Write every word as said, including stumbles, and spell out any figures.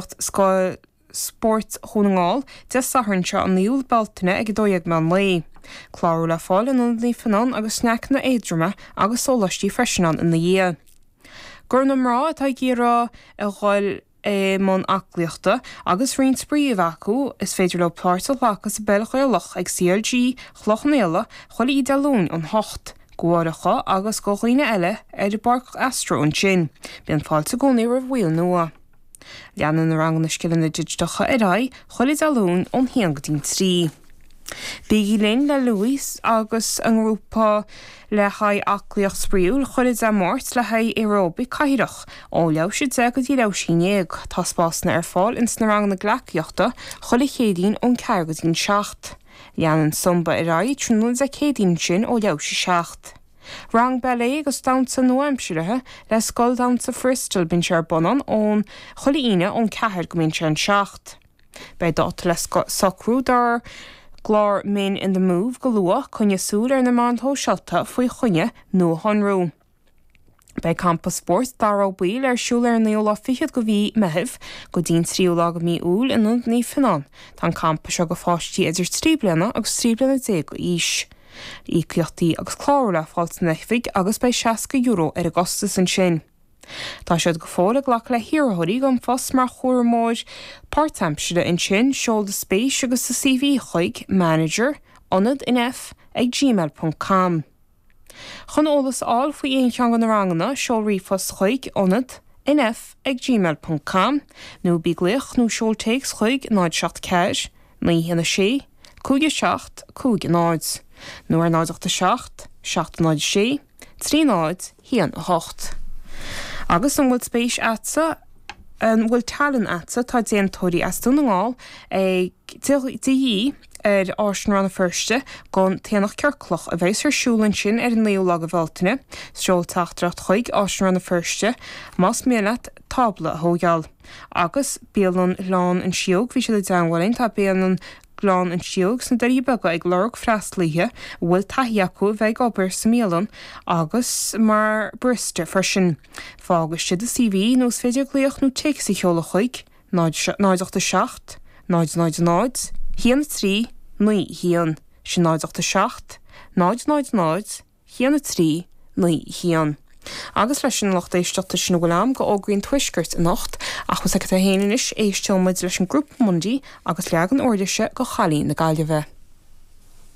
Scoil Spóirt Dhún na nGall Dé Sathairn seo an naoú Bealtaine ag a dó dhéag meán lae. Clárú le fáil in Ionad Naomh Fionán agus sneaiceanna éadroma agus sóláistí freisin ann ina dhiaidh. Do na mná atá ag iarraidh a dhul i mbun aclaíochta agus roinnt spraoi a bheith acu is féidir leo páirt a ghlacadh sa bpeil Ghaelach ag CLG Chloich Cheann Fhaola chuile Dé Luain ón hocht, do mháithreacha agus do dhaoine eile ar an bpáirc Astro ansin. Bíonn fáilte i gcónaí roimh bhaill nua. Leanann na ranganna scileanna digiteacha ar aghaidh chuile Dé Luain ón haon go dtí an trí. Bígí linn le Louis agus an grúpa le haghaidh aclaíocht spraíúil chuile Dé Máirt le haghaidh aeróbaic cathrach ó leathuair tar éis a deich go dtí leathuair tar éis a haon déag. Tá spásanna ar fáil ins na ranganna gleacaíochta chuile Chéadaoin ón ceathair go dtí an seacht. Leanann Zumba ar aghaidh tráthnóna Dé Céadaoin sin ó leathuair tar éis a seacht. Rang ballet agus damhsa nua-aimseartha le Scoil Damhsa Bristol bíonn sé ar bun ón chuile Aoine ón ceathair go mbíonn sé an seacht. Beidh dáta le socrú dár gclár Men in the Move go luath coinnigh súil ar na meáin shóisialta faoi choinne nuashonrú. Beidh campa spóirt Dara Ó Baoill ar siúl ar an naoú lá fichead de mhí Mheithimh go dtí an tríú lá de mhí Iúil in Ionad Naomh Fionán. Tá an campa seo do pháistí idir trí bliana agus trí bliana déag d'aois. Íocaíochtaí agus clárú le fáil san oifig agus beidh seasca euro ar an gcostas ansin. Tá siad go fóill ag glacadh le hiarrthóirí don phost mar chúramóir páirtaimseartha ansin seol do spéis agus do CV chuig manager ionad nf ag gmail.com. Chun eolas a fháil faoi aon cheann de na ranganna seol ríomhphost chuig ionad nf ag gmail.com nó bí ag glaoch nó seol téacs chuig náid seacht ceathair, naoi haon a sé, cúig a seacht, cúig a náid, nó ar náid ocht a seacht, seacht náid sé, trí náid, haon a hocht. Agus an bhfuil spéis agatsa an bhfuil tallann agatsa tá déantóirí as Dún na nGall ag de dhíth ar Áislann Rann na Feirste don t-aonach ciorclach a bheas ar siúl ansin ar an naoú lá de Bhealtaine, seol teachtaireacht chuig Áislann Rann na Feirste más mian leat tábla a thógáil. Agus Bialann Ghleann an Síóg bhí siad i dteagmháil linn tá Bialann Ghleann an Síóg sna Doirí Beaga ag lorg freastalaithe a bhfuil taithí acu a bheith ag obair sa mbialann agus mar barista freisin. Fág istigh do CV nó is féidir glaoch nó téacs a sheoladh chuig náid ocht a seacht, náid náid náid, haon trí, naoi haon, sin náid ocht a seacht, náid náid náid, haon trí, naoi haon. Agus leis an lucht éisteachta sin a bhfuil am go fhógraí an tuaiscirt anocht ach was agat a haon anois éisteoidh muid leis an grúpa Mundy agus leagan uirlise de Chailín na Gaillimhe.